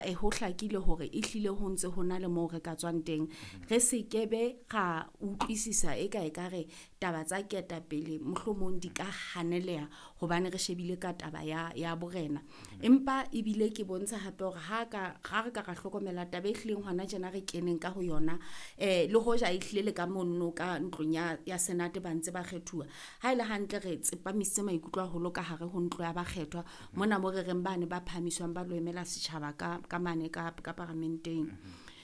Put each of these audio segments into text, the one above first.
Ho hlakile hore ehlile ho ntse ho na le moo re ka tswang teng. Re se ke be ra utlwisisa eka ekare taba tsa ketapele mohlomong di ka haneleha hobane re shebile ka taba ya borena. Empa ebile ke bontsha hape hore ha ka ha re ka ra hlokomela taba e hlileng hona tjena re keneng ka ho yona, le hoja ehlile le ka mono ka ntlong ya Senate ba ntse ba kgethuwa. Ha ele hantle re tsepamisitse maikutlo haholo ka hare ho ntlo ya bakgethwa mona mo re reng bane ba phahamiswang ba lo emela setjhaba ka mane ka paramenteng.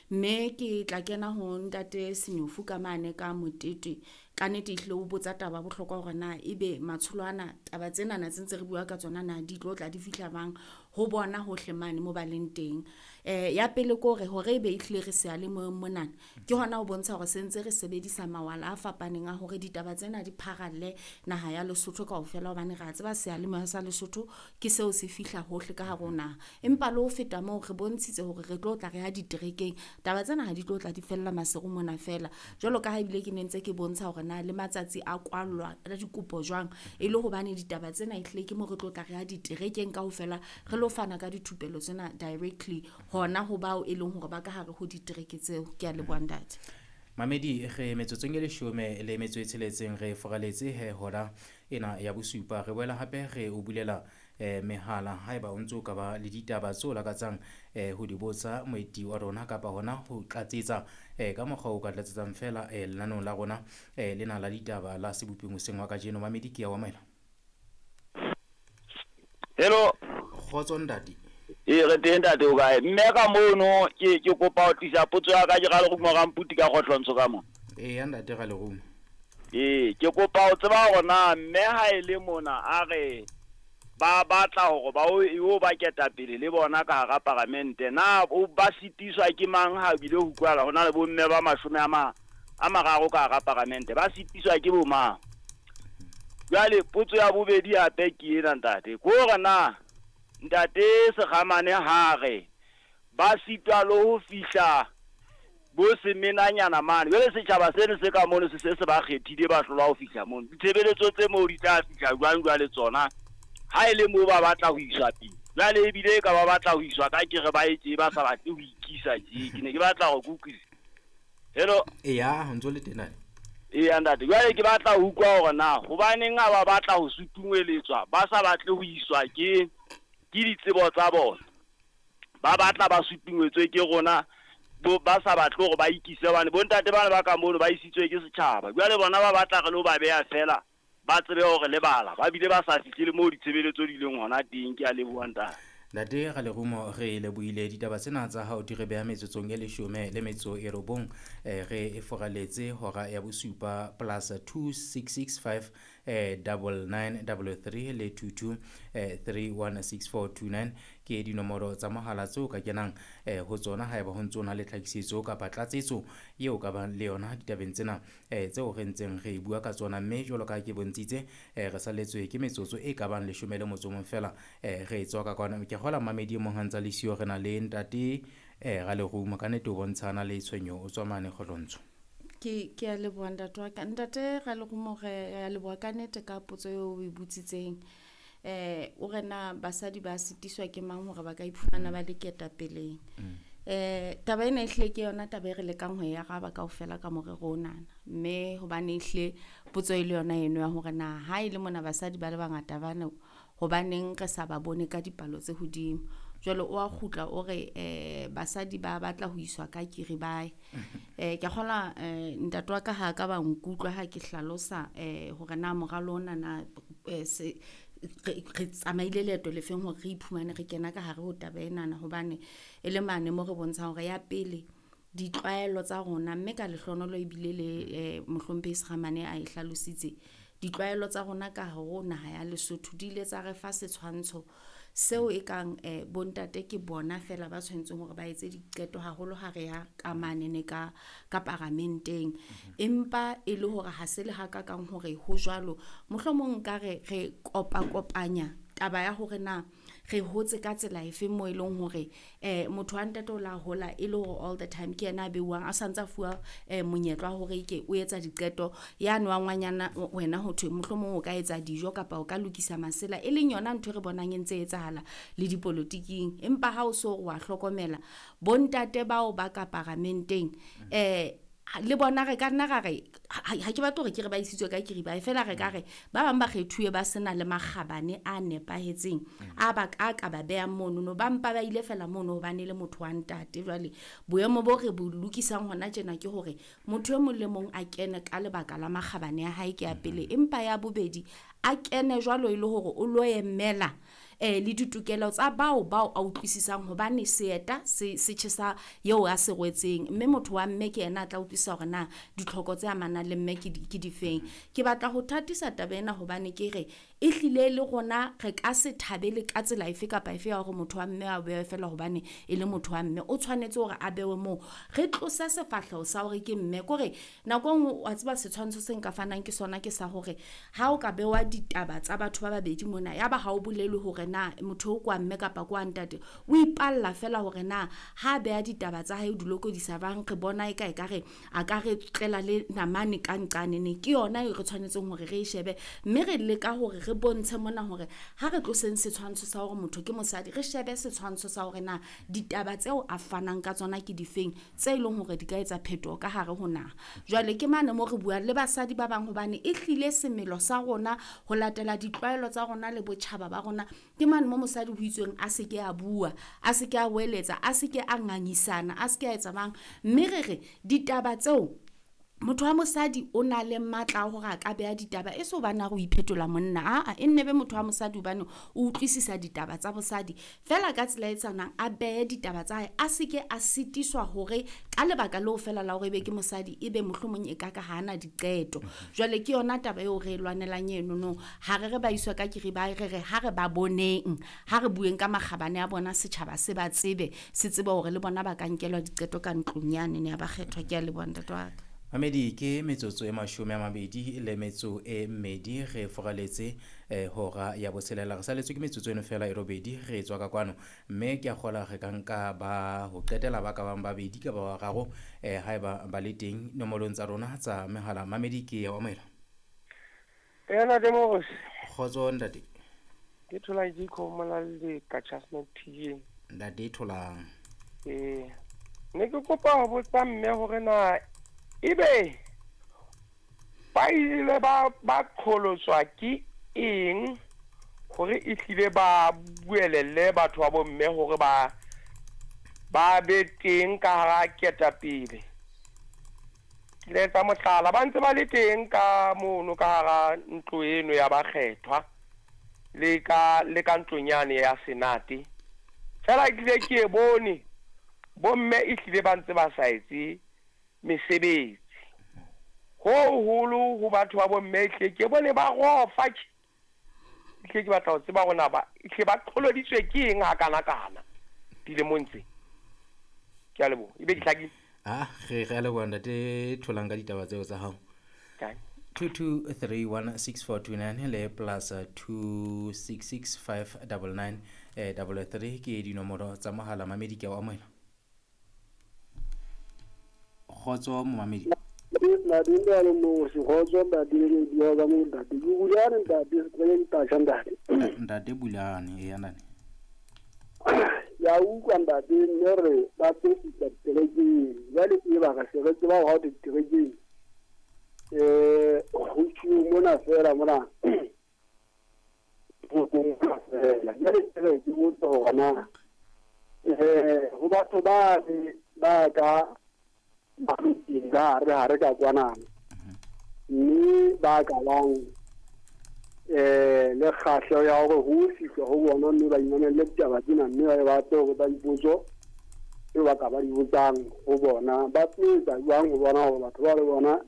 Mme ke tla kena ho ntate Senyofu ka mane ka Motete. Ka nnete ehlile o botsa taba bohlokwa hore na ebe matsholo ana taba tsenana tse ntse re bua ka tsona na di tlo tla di fihla bang ho bona hohle mane mo ba leng teng. Ya pele ke hore hore ebe ehlile re seyalemoyeng monana ke hona ho bontsha hore sentse re sebedisa mawala a fapaneng a hore ditaba tsena di pharalle naha ya Lesotho kaofela, hobane re a tseba seyalemoya sa Lesotho ke seo se fihla hohle ka hare ho naha. Empa le ho feta moo re bontshitse hore re tlo tla re ya diterekeng. Taba tsena ha di tlo tla di fella Maseru mona fela. Jwalo ka ha ebile ke ne ntse ke bontsha hore na le matsatsi a kwallwa a dikopo jwang, e le hobane ditaba tsena ehlile ke mo re tlo tla re ya diterekeng kaofela re lo fana ka dithupelo tsena directly hona ho bao e leng hore ba ka hare ho ditereke tseo. Ke a leboha ntate. Mamedi re metsotsong e 16 re foraletse he hora ena ya bosupa. Re boela hape re o bulela mehala haeba o ntso ka ba le ditaba tseo lakatsang ho di botsa moeti wa rona kapa hona ho tlatsetsa ka mokgwa o ka tlatsetsang fela lenaneong la rona lena la ditaba la Seboping hoseng wa kajeno. Mamedi ke ya o amohela. Hello. Kgotso ntate. Ee, re teng ntate, o kae? Mme ka mono ke kopa ho tlisa potso ya ka, ke Ralerumo Ramputi ka Kgohlontsho ka mona. Eya ntate Ralerumo. Ee, ke kopa ho tseba hore na mme ha e le mona a re ba batla hore ba o ba ketapele le bona ka hara paramente, na o ba sitiswa ke mang ha bile ho utlwahala ho na le bomme ba 30 ka hara paramente, ba sitiswa ke bo mang? Jwale potso ya bobedi hape ke ena ntate, ke hore na ntate Sekgamane ha re ba sitwa le ho fihla bo semenanyana mane, jwale setjhaba seno se ka mono se se ba kgethile ba hlolwa ho fihla mono, ditshebeletso tse moo di tla fihla jwang jwale tsona ha e le moo ba batla ho iswa pele? Jwale ebile e ka ba batla ho iswa ka kere ba etse ba sa batle ho ikisa tje. Ke ne ke batla hore ke utlwisise. Hello. Eya, ho ntso le teng ntate. Eya ntate, jwale ke batla ho utlwa hore na hobaneng ha ba batla ho sutungweletswa ba sa batle ho iswa ke ditsebo tsa bona, ba batla ba sutungwetswe ke rona, ba sa batle hore ba ikise, hobane bontate bana ba ka mono ba isitswe ke setjhaba. Jwale bona ba batla re lo ba beha fela ba tsebe hore le bala, ba bile ba sa fihle le moo ditshebeletso di leng hona teng. Ke a leboha ntate. Ntate Ralerumo, re lebohile ditaba tsena tsa hao di re beha metsotsong e 19, re e foraletse hora ya bosupa plus 2665 9933 le 22 316429 ke dinomoro tsa mohala tseo ka kenang ho tsona haeba ho ntso na le tlhakisetso kapa tlatsetso eo ka bang le yona ditabeng tsena tseo re ntseng re bua ka tsona. Mme jwalo ka ke bontshitse re salletswe ke metsotso e ka bang 11 fela re tswa ka kwana. Ke kgola mamedi e mong ha ntsa le siyo, re na le ntate Ralerumo, ka nnete o bontshana le tshwenyo o tswa mane Kgohlontsho. Ke a leboha ntate wa ka. Ntate Ralerumo, re a leboha ka nnete ka potso eo o e botsitseng. O re na basadi ba sitiswa ke mang hore ba ka iphumana ba le ketapeleng? Taba ena ehlile ke yona taba e re lekang ho e araba kaofela ka morero onana. Mme hobane ehlile potso e le yona eno ya hore na ha e le mona basadi ba le bangata bana hobaneng re sa ba bone ka dipalo tse hodimo. Jwale o a kgutla o re basadi ba batla ho iswa ka kiri bae. Ke kgola ntate wa ka ha ka ba nkutlwa ha ke hlalosa hore na moralo ona na se re tsamaile leeto le feng hore re iphumane re kena ka hare ho taba enana, hobane e le mane mo re bontshang hore ya pele ditlwaelo tsa rona, mme ka lehlohonolo ebile le mohlomphehi Sekgamane a e hlalositse, ditlwaelo tsa rona ka hare ho naha ya Lesotho di ile tsa re fa setshwantsho seo e kang bontate ke bona fela ba tshwanetseng hore ba etse diqeto haholo ha re ya ka manene ka paramenteng. Empa e le hore ha se le hakakang hore ho jwalo, mohlomong nka re re kopakopanya Taba ya hore na re hotse ka tsela efe mo e leng hore motho wa ntate o la hola e le hore all the time ke yena a beuwang a santse a fuwa monyetla wa hore ke o etsa diqeto yane wa ngwanyana wena ho thwe mohlomong o ka etsa dijo kapa o ka lokisa masela, e leng yona ntho e re bonang e ntse e etsahala le dipolotiking. Empa ha o so wa hlokomela bontate bao ba ka paramenteng le bona re ka nna ra re ha ke batle hore ke re ba isitswe ka kiriba, fela re ka re ba bang ba kgethuwe ba sena le makgabane a nepahetseng a ba ka ka ba beha mono no, ba mpa ba ile fela mono hobane le motho wa ntate. Jwale boemo bo re bo lokisang hona tjena ke hore motho e mong le mong a kene ka lebaka la makgabane a hae, ke ya pele. Empa ya bobedi a kene jwalo e le hore o lo emela le ditokelo tsa bao a utlwisisang, hobane seeta se tjhesa eo a se rwetseng, mme motho wa mme ke yena a tla utlwisisa hore na ditlhoko tse amanang le mme ke difeng. Ke batla ho thatisa taba ena hobane ke re e hlile le rona re ka se thabele ka tsela efe kapa efe ya hore motho wa mme a bewe fela hobane e le motho wa mme, o tshwanetse hore a bewe moo. Re tlose sefahleho sa hore ke mme, kore nako e nngwe wa tseba setshwantsho se nka fanang ke sona ke sa hore ha o ka bewa ditaba tsa batho ba babedi mona, ya ba ha o bolele hore na motho o kwa mme kapa kwa ntate, o ipalla fela hore na ha beha ditaba tsa hae o di lokodisa bang, re bona e ka e ka re a ka re tlela le namane ka nqane ne. Ke yona e re tshwanetseng hore re e shebe, mme re leka hore re bontshe mona hore ha re tloseng setshwantsho sa hore motho ke mosadi, re shebe setshwantsho sa hore na ditaba tseo a fanang ka tsona ke difeng tse leng hore di ka etsa phetoho ka hare ho naha. Jwale ke mane mo re buang le basadi ba bang hobane e hlile semelo sa rona ho latela ditlwaelo tsa rona le botjhaba ba rona, ke mane mo mosadi ho itsweng a se ke a bua, a se ke a weletsa, a se ke a ngangisana, a se ke a etsa bang. Mme re re ditaba tseo motho wa mosadi o na le matla a hore a ka beha ditaba, e se hobane a re o iphetola monna, aa e nne be motho wa mosadi hobane o utlwisisa ditaba tsa bosadi fela ka tsela e tshwanang, a behe ditaba tsa hae, a se ke a sitiswa hore ka lebaka leo fela la hore ebe ke mosadi ebe mohlomong e ka ka ha ana diqeto. Jwale ke yona taba eo re e lwanelang eno no, ha re re ba iswa ka kiriba, re re ha re ba boneng, ha re bueng ka makgabane a bona, setjhaba se ba tsebe, se tsebe hore le bona ba ka nkelwa diqeto ka ntlong yane ne ya ba kgethwa. Ke a leboha ntate wa ka. Mamedi, ke metsotso e 22 re foraletse hora ya botshelela, re saletswe ke metsotso eno fela e robedi re tswa ka kwano, mme ke a kgola re ka nka ba ho qetela ba ka bang babedi ka ba bararo haeba ba le teng nomorong tsa rona tsa mehala. Mamedi, ke ya o amohela. Ena Demos. Kgotso ntate. Ke thola ke khomola le ka Chestnut TJ. Ntate tholang. Ne ke kopa ho botsa mme hore na ebe ba ile ba qholotswa ke eng hore e hlile ba buelelle batho ba bomme hore ba be teng ka hara ketapele. Ke le etsa mohlala, ba ntse ba le teng ka mono ka hara ntlo eno ya bakgethwa le ka ntlong yane ya Senate. Fela ke ile ke e bone bomme e hlile ba ntse ba sa etse mesebetsi ho holo ho batho ba bomme, hle ke bone ba rofa ke ke batla ho tseba rona ba hle ba qholoditswe ke eng ha kana kana dilemong tse. Ke a leboha, ebe ke hlakile. Re a leboha ntate tholang ka ditaba tseo tsa hao. 22316429 le plus 266599 33 ke dinomoro tsa mohala. Mamedi, ke a o amohela. Kgotso momamedi. Ntate Bulane, e ntate. Ya utlwa ntate, mme re ba tlo fihla diterekeng. Jwale e ba ka se re tseba hore diterekeng ho tjhuwe mona fela mona ho fela. Jwale ke re ke botsa hore na ho batho ba ka ba ka re ka kwanana mme ba ka bang le kgahleho ya hore ho fihlwa ho bona mme ba imamelle ditaba tsena, mme ba batle hore ba dipotso tseo ba ka ba di botsang ho bona, ba tlo etsa jwang ho bona hore batho ba le bona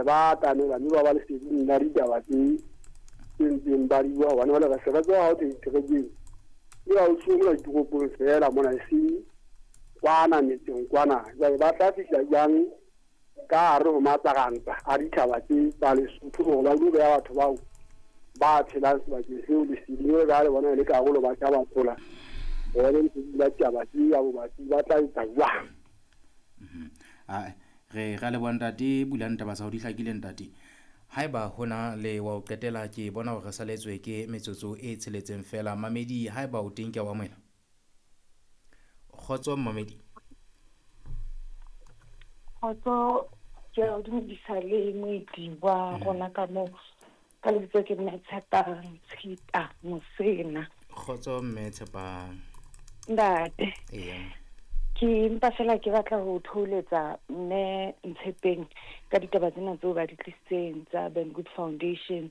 ba atamela mme ba ba leseding la ditaba tse ntseng ba di bua, hobane jwale re se re tseba ha ho thwe diterekeng e ba o tshwere ditoropong fela mona, eseng kwana metseng kwana. Jwale ba tla fihla jwang ka hare ho matsarantsa a ditjhaba tse tsa Lesotho hore ba lo beha batho bao Ba phelang sebakeng seo leseding jwalo ka ha le bona e le karolo batjha ba thola bone ntse di la taba tse ya bobatsi ba tla etsa jwang. Re ra leboha ntate bulang taba tsa hao di hlakile ntate. Haeba hona le wa ho qetela ke bona hore re saletswe ke metsotso e tsheletseng fela. Mamedi haeba o teng ke a o amohela. Kgotso mamedi. Kgotso ke a o dumedisa le moeti wa rona ka moo. Ka lebitso ke mme Tshepang Tshita Mosena. Kgotso mme Tshepang. Ntate. Eya. Ke mpa fela ke batla ho thoholetsa mme Ntshepeng ka ditaba tsena tseo ba di tlisitseng tsa Ben Good Foundation.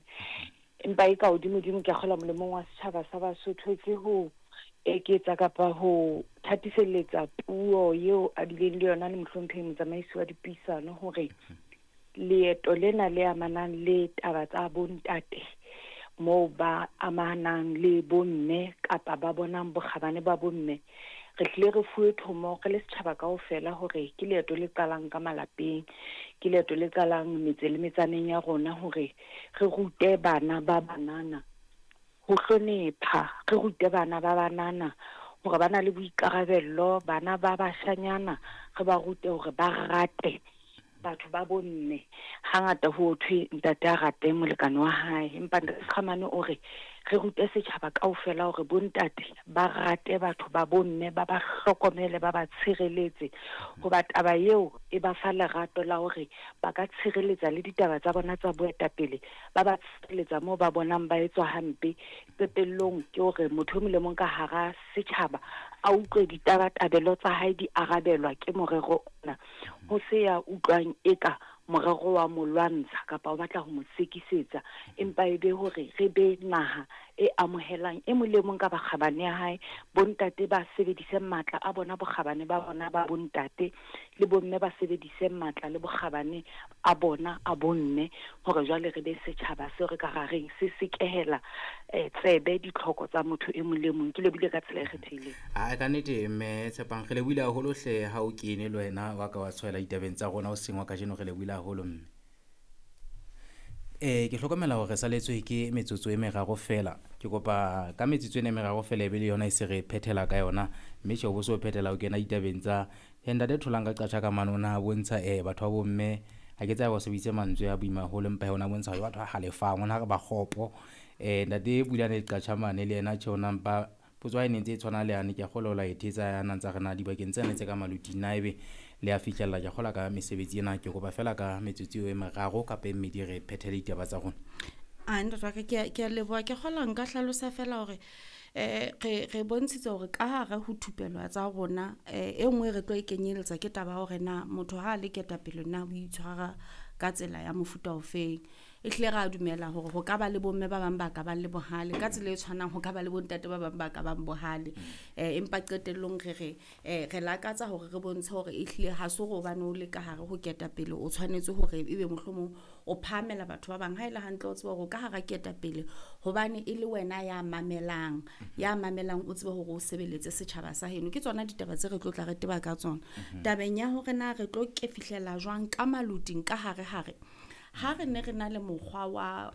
Empa e ka hodimo-dimo ke a kgolwa molemong wa setjhaba sa Basotho ke ho eketsa kapa ho thatiselletsa puo eo a bileng le yona le mohlomphehi motsamaisi wa dipuisano hore leeto lena le amanang le taba tsa bontate moo ba amanang le bomme kapa ba bonang bokgabane ba bomme, re hlile re fuwe thomo re le setjhaba kaofela hore ke leeto le qalang ka malapeng, ke leeto le qalang metse le metsaneng ya rona hore re rute bana ba banana ho hlonepha, re rute bana ba banana hore ba na le boikarabello, bana ba bashanyana re ba rute hore ba rate batho ba bomme. Hangata ho thwe ntate a rate molekane wa hae, empa ntate Sekgamane o re re rute setjhaba kaofela hore bontate ba rate batho ba bomme, ba ba hlokomele, ba ba tshireletse, hoba taba eo e ba fa lerato la hore ba ka tshireletsa le ditaba tsa bona tsa boetapele, ba ba tshireletsa moo ba bonang ba etswa hampe. Qetellong ke hore motho e mong le mong ka hara setjhaba a utlwe ditabatabelo tsa hae di arabelwa ke morero ona, ho se ya utlwang eka morero wa mo lwantsha kapa o batla ho mo sekisetsa, empa e be hore re be naha e amohelang e mong le mong ka bakgabane ya hae. Bontate ba sebedise matla a bona, bokgabane ba bona ba bontate, le bomme ba sebedise matla le bokgabane a bona a bomme, hore jwale re be setjhaba seo re ka ra reng se sekehela tsebe ditlhoko tsa motho e mong le mong. Ke lebohile ka tsela e kgethehileng. A ka nnete mme Tshepang, re lebohile haholo hle ha o kene le wena wa ka wa tshwaela ditabeng tsa rona hoseng wa kajeno, re lebohile haholo mme. Ke hlokomela hore re saletswe ke metsotso e meraro fela. Ke kopa ka metsotso ena e meraro fela e be le yona e se re phethela ka yona, mme tjhe o bo so phethela o kena ditabeng tsa ntate Tholang ka qatjha ka mane o na bontsha batho ba bomme, ha ke tsebe o sebedisitse mantswe a boima haholo, empa ona bontsha hore batho ba halefang, ona re ba kgopo. Ntate Bulane Qatjha mane le yena tjhe ona mpa potso ha e ne ntse e tshwana le yane, ke a kgolwa o la e thetsa ya na ntsa re na dibakeng tsena tse ka maluting na ebe le a fihlella. Ke a kgolwa ka mesebetsi ena, ke kopa fela ka metsotso eo e meraro kapa e mmedi re phethele ditaba tsa rona. A ntate wa ka, ke a leboha. Ke kgolwa nka hlalosa fela hore re bontshitse hore ka hare ho thupelo tsa rona e nngwe re tlo e kenyeletsa ke taba ya hore na motho ha a le ketapele na o itshwara ka tsela ya mofuta ofeng. E hlile ra dumela hore ho ka ba le bomme ba bang ba ka bang le bohale, ka tsela e tshwanang ho ka ba le bontate ba bang ba ka bang bohale. Empa qetellong re re lakatsa hore re bontshe hore e hlile ha se hore hobane o le ka hare ho ketapele o tshwanetse hore ebe mohlomong o phahamela batho ba bang. Ha e le hantle o tsebe hore o ka hara ketapele hobane e le wena ya mamelang, ya mamelang o tsebe hore o sebeletse setjhaba sa heno. Ke tsona ditaba tse re tlo tla re teba ka tsona. Tabeng ya hore na re tlo ke fihlela jwang ka maluting ka hare hare, ha re ne re na le mokgwa wa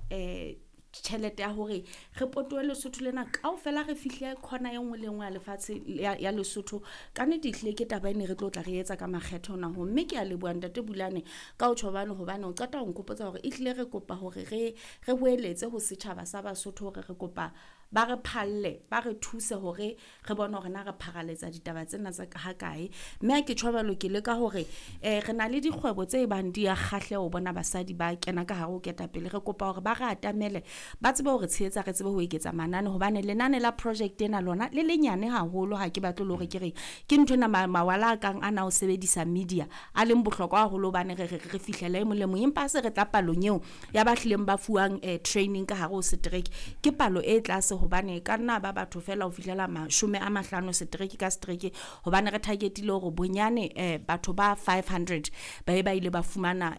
tjhelete ya hore re potohe Lesotho lena kaofela, re fihle khona e nngwe le nngwe ya lefatshe ya Lesotho, ka nnete ehlile ke taba e ne re tlo tla re etsa ka makgethe hona ho. Mme ke a leboha ntate Bulane ka ho tjho hobane o qeta ho nkgopotsa hore ehlile re kopa hore re boeletse ho setjhaba sa Basotho hore re kopa ba re phalle, ba re thuse hore re bone hore na re pharaletsa ditaba tsena tsa ha kae. Mme ha ke tjho jwalo ke leka hore re na le dikgwebo tse bang di a kgahleho ho bona basadi ba kena ka hare ho ketapele. Re kopa hore ba re atamele, ba tsebe hore tshehetsa, re tsebe ho eketsa manane, hobane lenane la project ena lona le lenyane haholo. Ha ke batle le hore ke re ke ntho ena mawala a kang ana ho sebedisa media a leng bohlokwa haholo, hobane re fihlela e mong le mong, empa ha se re tla palong eo ya ba hlileng ba fuwang training ka hare ho setereke, ke palo e tlase, hobane ka nna ba batho fela ho fihlela 50 setereke ka setereke, hobane re targetile hore bonyane batho ba 500 ba ba ile ba fumana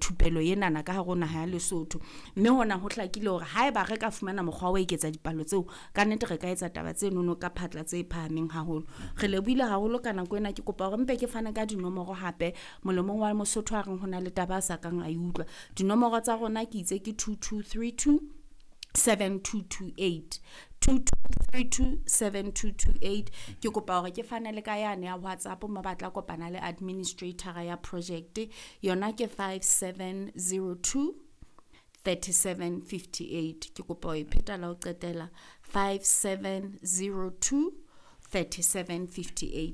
thupelo enana ka hare ho naha ya Lesotho. Mme hona ho hlakile hore haeba re ka fumana mokgwa wa ho eketsa dipalo tseo, ka nnete re ka etsa taba tse nono ka phatla tse phahameng haholo. Re lebohile haholo ka nako ena. Ke kopa hore mpe ke fane ka dinomoro hape molemong wa Mosotho a reng ho na le taba a sa kang a e utlwa. Dinomoro tsa rona ke itse ke 2232 7228, 2232 7228. Ke kopa hore ke fane le ka yane ya WhatsApp mo ba tla kopana le administrator ya project, yona ke 5702 3758. Ke kopa ho e pheta la ho qetela, 5702 3758.